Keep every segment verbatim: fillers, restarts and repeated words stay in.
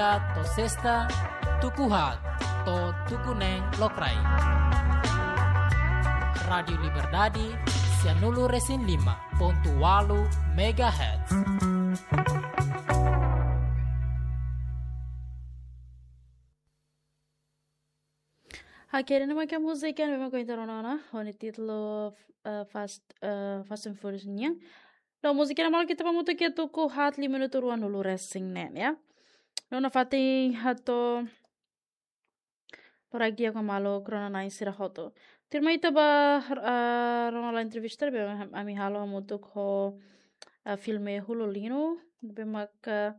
To'o sesta, tuku haat to'o tuku neen lokraik. Rádiu Liberdade, sianulu resin lima pontu ualu megahertz. Oke, ne'e mak múzika ne'ebé mak ohin ita rona ona, ho nia títulu, eh, Fast, eh, Fast and Furious nian. No múzika ne'e maluk ita bá hamutuk iha tuku haat liu minutu ruanulu resin neen, ya. No nafatin hato'o loraik di'ak ba maluk rona-na'in sira hotu. Tuirmai ita bá, eh, rona lai entrevista ne'ebé ami halo hamutuk ho, eh, filme Hulu Lino, ne'ebé mak, eh,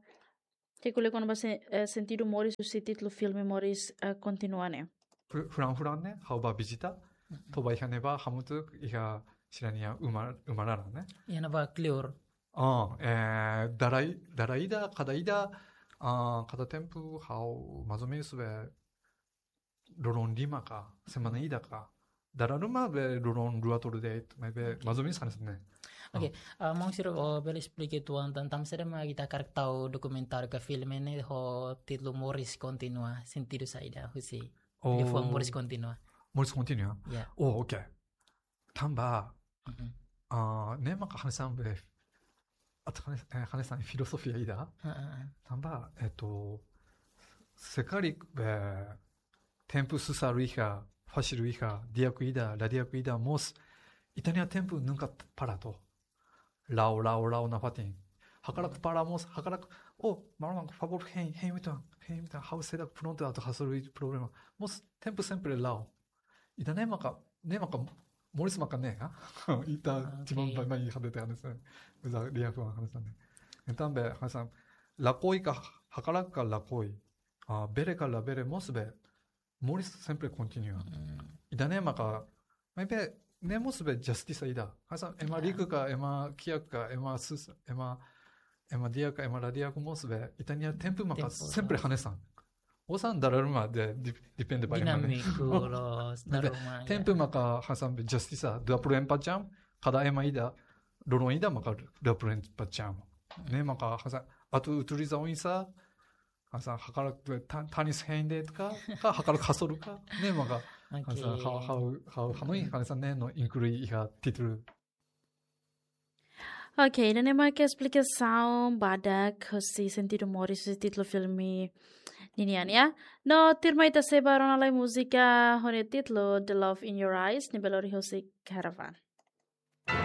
ke kule kona-ba se-, eh, sentidu moris husi títulu filme Moris, eh, Kontinua ne'e. Fu-, fulan-fulan ne'e, ha'u bá vizita, Mhm. to'o bá iha ne'ebá hamutuk iha sira-nia uma, uma laran ne'e. Iha ne'ebá kleur. Oh, eh, dala i-, dala ida, kada ida, ah, kada tempu, ha'u mais ou menos be loron lima ka, semana ida ka. Dala ruma be loron rua tolu de'it, maibé Ok. mais ou menos hanesan ne'e. Ok, Oh. ah, maun sira, oh, bele esplika uitoan tan, tanba saida mak ita hakarak tau dokumentáriu ka filme ne'e ho títulu Moris Kontinua, sentidu saida husi Oh. liafuan Moris Kontinua. Moris Kontinua? Ya. Oh, ok. Tanba, Mhm. ah, ne'e maka hanesan be, atu hanes-, eh, hanesan filozofia ida. Ha, ha, ha. Tanba, eh, se karik be tempu susar iha, fasil iha, di'ak ida, la di'ak ida, mós, ita-nia tempu nunka para to. La'o, la'o, la'o nafatin. Hakarak para mós, hakarak, oh, maromak, favór, hein, hein uitoan, hein uitoan, ha'u seidauk prontu atu hasoru problema. Mós, tempu sempre la'o. Ida-ne'e maka, ne'e maka, moris maka ne'e, ha? Ita Ah, timan ok. baibain iha de'it hanesan. Uza dia ko hanesan ne'e. Entaun be, hanesan, lakohi ka, hakarak ka lakohi. Ah, bele ka labele mós be, moris sempre kontinua. Mm. Ida-ne'e maka, maibé, ne'e mós be justisa ida. Hanesan, ema Ya. riku ka, ema kiak ka, ema sus-, ema, ema di'ak ka, ema la di'ak mós be, ita-nia tempu maka Tempu sempre loos. hanesan. Osan dala ruma de, de, depende ba ema ne'e. Dinámiku loos, Maibé, dala ruma, tempu ya. maka hanesan be justisa, dua puluh empat jam, kada ema ida, loron ida maka dua puluh empat jam. Ne'e maka hanesan, atu utiliza oinsá, hanesan hakarak be tan-, tanis hein de'it ka, ka hakarak hasoru ka, ne'e maka, Ok. hanesan ha'u, ha'u, ha'u hanoin hanesan ne'e no inklui iha títulu. Ok, ida-ne'e mak esplikasaun badak husi sentidu moris husi títulu filme ninian, ya. No tuirmai ita sei bá rona lai múzika ho nia títulu The Love in Your Eyes, ne'ebé lori husi Caravan.